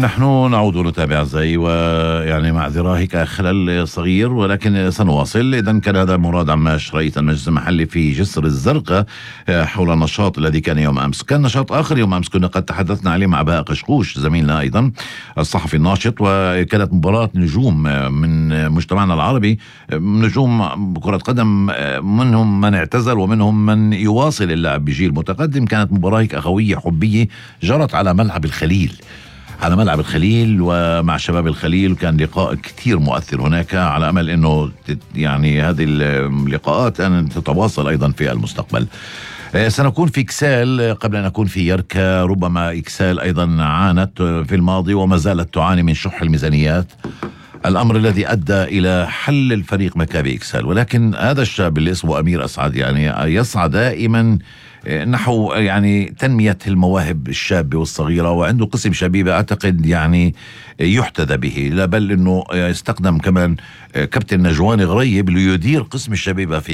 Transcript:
نحن نعود نتابع أعزائي، ويعني معذرة هيك خلل صغير ولكن سنواصل. إذن كان هذا مراد عماش رئيس المجلس المحلي في جسر الزرقاء حول النشاط الذي كان يوم أمس. كان نشاط آخر يوم أمس كنا قد تحدثنا عليه مع بهاء قشقوش زميلنا أيضا الصحفي الناشط، وكانت مباراة نجوم من مجتمعنا العربي، نجوم كرة قدم، منهم من اعتزل ومنهم من يواصل اللعب بجيل متقدم. كانت مباراة هيك أخوية حبية جرت على ملعب الخليل ومع شباب الخليل، وكان لقاء كتير مؤثر هناك، على أمل أنه يعني هذه اللقاءات أن تتواصل أيضا في المستقبل. سنكون في إكسال قبل أن نكون في يركا. ربما إكسال أيضا عانت في الماضي وما زالت تعاني من شح الميزانيات، الأمر الذي أدى إلى حل الفريق مكابي إكسال. ولكن هذا الشاب اللي اسمه أمير أسعد يعني يسعى دائما نحو يعني تنمية المواهب الشابة والصغيرة، وعنده قسم شبيبة أعتقد يعني يحتذى به، لا بل أنه يستخدم كمان كابتن نجوان غريب ليدير قسم الشبيبة في